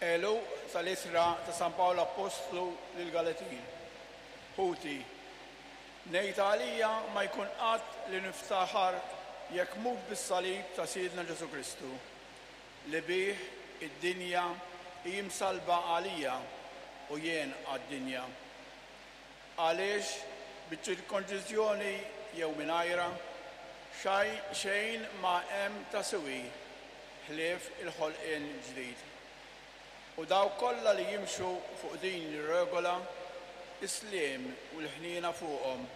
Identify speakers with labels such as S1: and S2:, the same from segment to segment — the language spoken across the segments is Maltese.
S1: Għeluq tal-Ittra ta' San Pawl Appostlu lill-Galatin. Ħuti, ngħid għalija ma jkun qatt li niftaħar jekk mhux bis-salib ta' Sidna Ġesù Kristu, li bih id-dinja hi msallba għalija u jien għad-dinja. Għaliex biċ-ċirkonċiżjoni jew mingħajrha, xejn ma hemm ta' siwi ħlief il-ħolqien ġdid. U dawk kollha li jimxu fuq din ir-regola, is-sliem u l-ħniena fuqhom,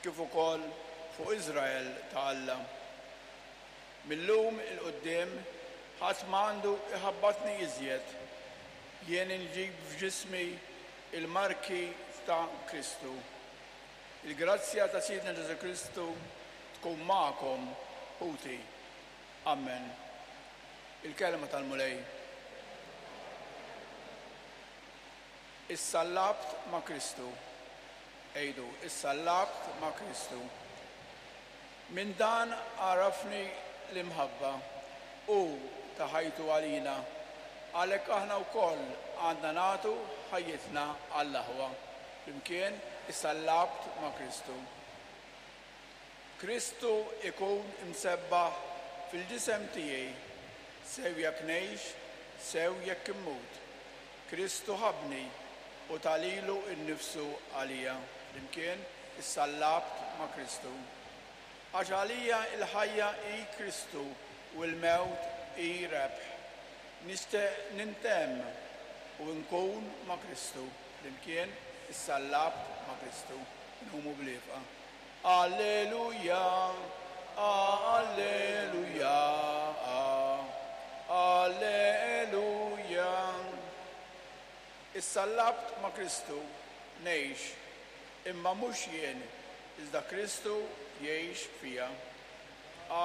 S1: kif ukoll fuq Iżrael ta' Alla. Mil-lum 'il quddiem ħadd ma għandu jħabbatni iżjed, jien inġib f'ġismi l-marki ta' Kristu. Il-grazzja ta' Sidna Ġesù Kristu tkun magħkom, ħuti. Amen. Il-Kelma tal-Mulej. Issallabt ma' Kristu. Għidu, issallabt ma' Kristu. Minn dan għarafni l-imħabba. Hu ta ħajtu għalina, għalhekk aħna wkoll għandna nagħtu ħajjitna għall-aħwa. Flimkien, issallabt ma' Kristu. Kristu jkun imsebbaħ fil-ġisem tiegħi, sew jekk ngħix, sew jekk immut. Kristu ħabbni u ta lilu nnifsu għalija. Flimkien, issallabt ma' Kristu. Għax għalija l-ħajja hi Kristu u l-mewt hi rebħ. Nixtieq nintemm u nkun ma' Kristu. Flimkien, issallabt ma' Kristu. Nqumu bl-iefqa. Alleluja, Alleluja, Alleluja. Issallabt ma' Kristu, ngħix, imma mhux jien, iżda Kristu jgħix fija.